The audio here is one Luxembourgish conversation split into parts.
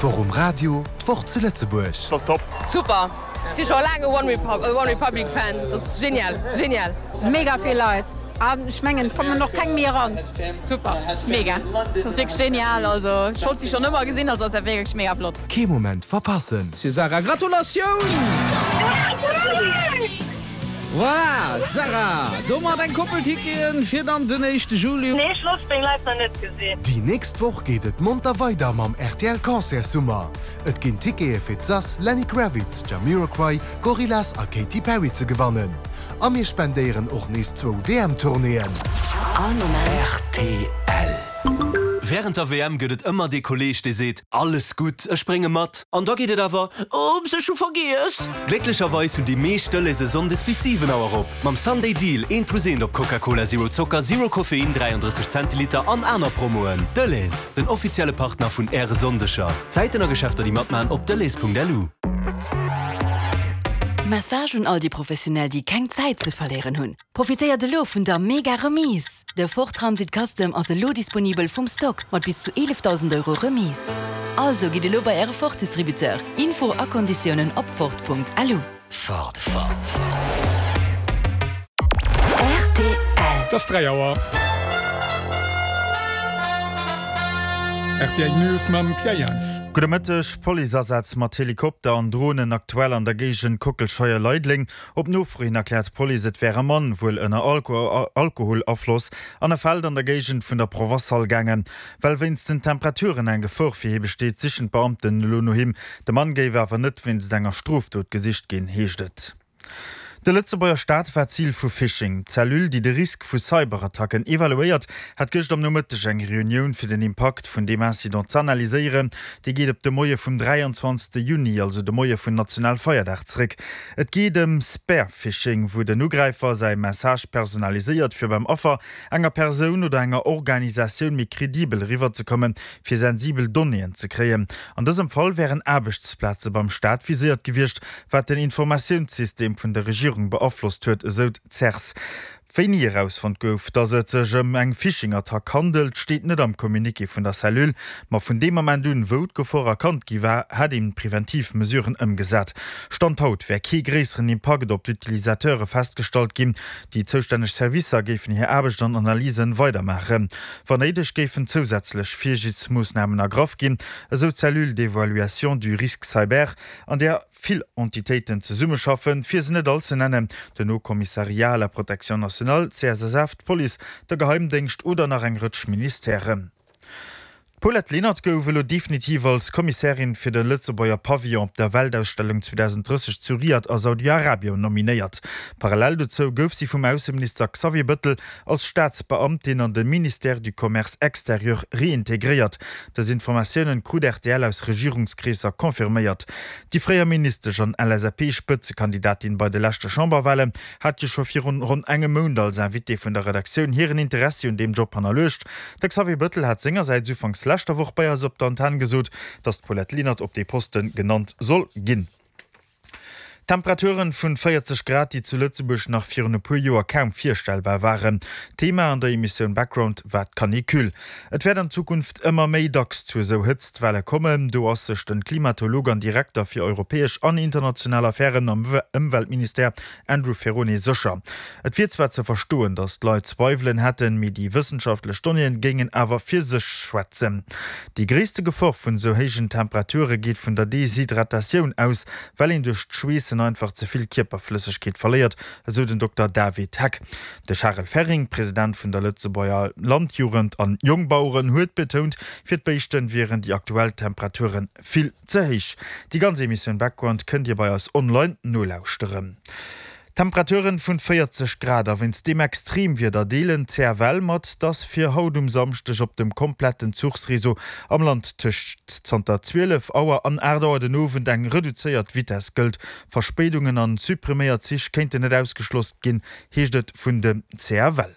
D'Woch um Radio, d'Woch zu Lëtzebuerg. Dat ass top! Super! Si scho laang e One Republic Fan, dat ass genial, genial! Mega vill Leit an ech mengen et kommen och keng méi eran. Super, mega, dat ass wierklech genial, also ech wollt si schonn ëmmer gesinn, also ass dat wierklech mega flott. Kee Moment verpassen! Sarah, Gratulatioun! Voilà, Sarah, domat eng Koppel Ticketen fir dann den éischte Juli. Nee, ech looss meng Leit nach net gesinn. Déi nächst Woch geet et monter weider mam rtl Concert Summer. Et ginn Tickete fir d'Sass, Lenny Kravitz, Jamiroquai, Gorillaz a Katy Perry ze gewannen. A mir spendéieren och nees zwou WM-Tournéeën. All Moment. Rtl. Wärend der WM gëtt et ëmmer dee Kolleeg, dee seet, Alles gutt, ech brénge mat. An da geet et awer, Oops, ech hu vergiess! Glécklecherweis hunn déi meescht Delhaize sonndes bis 7 Auer op. Mam Sunday Deal, eent plus eent op Coca-Cola Zero Zocker, Zero Koffein, 33 Zentiliter an aner Promoen. Delhaize, den offizielle Partner vun Äre Sonndeger. Zäiten a Geschäfter déi matmachen op delhaize.lu. Message un all déi Professionell déi keng Zäit ze verléieren hunn, Profitéiert elo vun der mega Remise! De Ford Transit Custom ass elo disponibel vum Stock mat bis zu 11.000 Euro Remise. Also gitt elo bei äre Ford Distributeur. Info a Konditiounen op Ford.lu. Ford. Rtl. Et ass 3 Auer. Rtl News mam Pierre Jans. Gudde Mëtteg. Policeasaz mat Helikopter an Dronen aktuell an der Géigend Kockelscheier-Leideleng. Op Nofro hin erkläert d'Police, et wär e Mann, wuel ënner Alkoholafloss, an e Feld an der Géigend vun der Provençale gaangen. Well wéinst den Temperaturen eng Gefor fir hie besteet, sichen d'Beamten elo no him. De Mann géif awer net wéinst enger Strofdot gesicht ginn, heescht et. De Lëtzebuerger Staat war Zil vu Phishing. D'Cellule, déi de Risk vu Cyberattacken evaluéiert, hat gëscht am Nomëtteg eng Reunioun, fir den Impakt vun deem Incident z'analyséieren. Déi geet op de Moie vum 23. Juni, also de Moie vun Nationalfeierdag, zeréck. Et geet ëm Spear-Phishing, wou den Ugräifer säi Message personaliséiert, fir beim Affer, enger Persoun oder enger Organisatioun méi kredibel eriwwerzekommen, fir sensibel Donnéeën ze kréien. An dësem Fall wären Aarbechtsplaze beim Staat viséiert gewiescht, wat den Informatiounssystem vun der Regierung beaflosst huet, esou d'CERS. Wéini erausfonnt gouf, datt et sech ëm eng Phishing-Attack handelt, steet net am Communiqué vun der Cellule. Ma vun deem Ament un, wou d'Gefor erkannt gi war, hätt een preventiv Mesuren ëmgesat. Stand haut wär kee gréisseren Impakt op d'Utilisateure festgestallt ginn. Déi zoustänneg Servicer géifen hir Aarbecht an Analysen weidermaachen. Wann néideg géifen zousätzlech Virsiichtsmoossnamen ergraff ginn, esou d'Cellule d'évaluation du risque cyber, an där vill Entitéiten zesummeschaffen, fir se net all ze nennen, den Haut Commissariat à la protection nationale, d'CSSF, d'Police, de Geheimdéngscht oder nach eng Rëtsch Ministèren. D'Paulette Lenert gouf elo definitiv als Kommissärin fir de Lëtzebuerger Pavillon op der Weltausstellung 2030 zu Riad a Saudi-Arabien nominéiert. Parallel dozou gouf si vum Ausseminister Xavier Bëttel als Staatsbeamtin an de Ministère du Commerce extérieur reintegréiert. Dës Informatiounen krut rtl aus Regierungskreesser confirméiert. Déi fréier Ministesch an LSAP-Spëtzekandidatin bei de leschte Chamberwalen hat jo scho virun ronn engem Mount als Invitée vun der Redaktioun hiren Interessi un deem Job hannerluecht. De Xavier Bëttel hat sengersäits ufanks leschter Woch bei eis op der Antenn gesot, datt d'Paulette Lenert op dee Poste genannt soll ginn. Temperaturen vun 40 Grad, déi zu Lëtzebuerg nach virun e puer Joer kaum virstellbar waren. Thema an der Emissioun Background war d'Canicule. Et wäert an Zukunft ëmmer méi dacks zu esou Hëtztwelle kommen. Do ass sech den Klimatolog an Direkter fir europäesch an international Affären am Ëmweltministère Andrew Ferrone sécher. Et wier zwar ze verstoen, datt d'Leit Zweiwelen hätten, mee déi wëssenschaftlech Donnéeën géingen awer fir sech schwätzen. Déi gréisste Gefor vun esou héijen Temperature geet vun der Deshydratatioun aus, well een duerch d'Schweessen einfach ze vill Kierperflëssegkeet verléiert, esou den Dokter David Heck. De Charel Ferring, President vun der Lëtzebuerger Landjugend an Jongbaueren, huet betount, fir d'Béischten wieren déi aktuell Temperaturen Vill ze héich. Déi ganz Emissioun Background kënnt Dir bei eis online nolauschteren. Temperaturen vun 40 Grad a wéinst deem Extremwieder deelen d'CFL mat, dass fir haut um Samschdeg op dem kompletten Zuchsreseau am Land tëscht zanter 12 Auer an 8 Auer den Owend eng reduzéiert Vitess gëllt. Verspéidungen an suppriméiert Zich kéinten net ausgeschloss ginn, heescht et vun de CFL.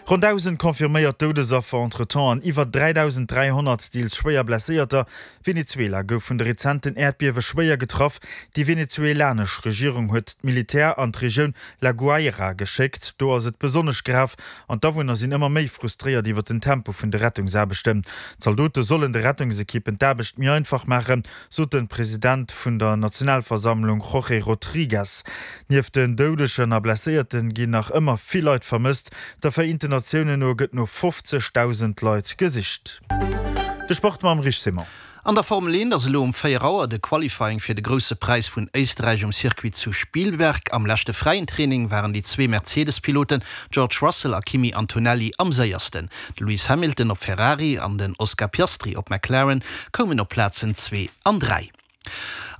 Ronn 1.000 confirméiert Doudesaffer entretemps an iwwer 3.300 deels schwéier Blesséierter. Venezuela gouf vun de rezenten Äerdbiewe schwéier getraff. Déi venezuelanesch Regierung huet d'Militär an d'Regioun La Guaira geschéckt. Do ass et besonnesch grav an d'Awunner sinn ëmmer méi frustréiert iwwer den Tempo vun de Rettungsaarbechten. D'Zaldote sollen de Rettungsekippen d'Aarbecht méi einfach maachen, sot de President vun der Nationalversammlung Jorge Rodriguez. Nieft den Doudegen a Blesséierten ginn nach ëmmer vill Leit vermësst. Der Vereenten Natiounen no gëtt no 50.000 Leit gesicht. De Sport mam Rich Simon. An der Formel 1 ass elo um 4 Auer de Qualifying fir de Grousse Präis vun Éisterräich um Circuit zu Spielberg. Am leschte fräien Training waren déi zwee Mercedes-Piloten George Russell a Kimi Antonelli am séiersten. De Lewis Hamilton op Ferrari an den Oscar Piastri op McLaren koumen op Plazen 2 an 3.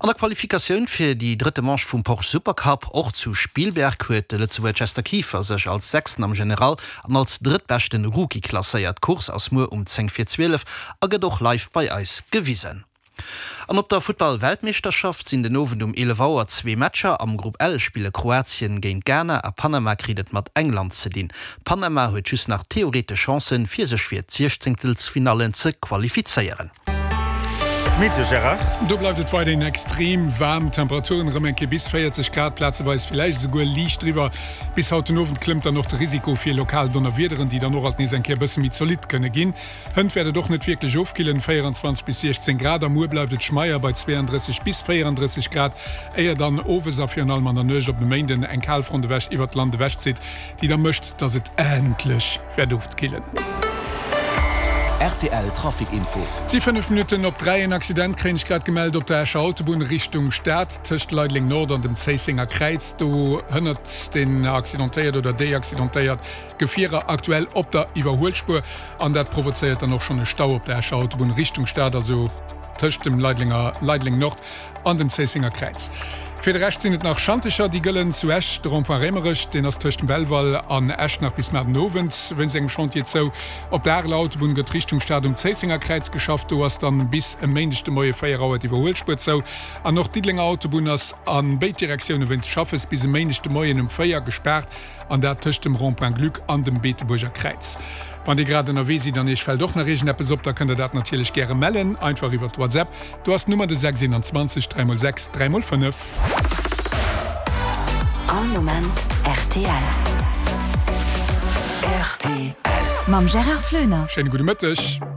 An der Qualifikatioun fir déi drëtte Manche vum Porsche Supercup, och zu Spielberg, huet de Lëtzebuerger Chester Kieffer sech als Sechsten am General an als drëttbeschten Rookie klasséiert. D'Course ass muer um 10 vir 12 a gëtt och live bei eis gewisen. An op der Futtball-Weltmeeschterschaft sinn den Owend um 11 Auer zwee Matcher. Am Grupp L spille Kroatien géint Ghana a Panama kritt et mat England ze dinn. Panama huet just nach theoretesch Chancen, fir sech fir d'Siechzéngtelsfinallen ze qualifizéieren. Meteo Gérard. Do bleift et weiderhin extrem waarm, Temperaturen erëm eng Kéier bis 40 Grad, plazeweis villäicht esouguer liicht driwwer. Bis haut den Owend klëmmt dann och de Risiko fir lokal Donnerwiederen, déi dann och alt nees eng Kéier e bësse méi zolidd kënne ginn. Hënt wäert et och net wierklech ofkillen, 24 bis 16 Grad, a muer bleift et schmeier bei 32 bis 34 Grad, éier dann owes a virun allem an der Nuecht op e Méinden eng Kalfront ewech iwwert d'Land ewechzitt, déi da mécht, dass et endlech wäert ofkillen. Rtl Trafic Info. Et si 5 Minutten op 3. En Accident kréien ech grad gemellt op der Escher Autobunn Richtung Stad, tëscht Leideleng Nord an dem Zéissenger Kräiz. Do hënnert den Accidentéiert oder déi Accidentéiert Gefierer aktuell op der Iwwerhuelspuer an dat provozéiert dann och schonn e Stau op der Escher Autobunn Richtung Stad, also tëscht dem Leidlenger Leideleng Nord an dem Zéissenger Kräiz. Fir de Rescht sinn et nach Schantecher, déi gëllen zu Esch. De Rond-point Raemerech, deen ass tëscht dem Belval an Esch nach bis mar den Owend wéinst engem Chantier zou. Op der Areler Autobunn gëtt Richtung Stad um Zéissenger Kräiz geschafft, do ass dann bis e Méindeg de Moie 4 Auer d'Iwwerhuelspuer zou. An och d'Diddelenger Autobunn ass a béid Direktioune wéinst Schaffes bis e Méindeg de Moien um 4 gespaart. An dat tëscht dem Rond-point Gluck an dem Beetebuerger Kräiz. Wann Dir grad ënnerwee sidd an Iech fält och nach iergendeppes op, da kënnt Der dat natierlech gäre mellen, einfach iwwer d'WhatsApp. Do ass d'Nummer de 6 21 3 x 6 3 x 5. All Moment rtl. Rtl. Mam Gérard Floener. Schéine gudde Mëtteg.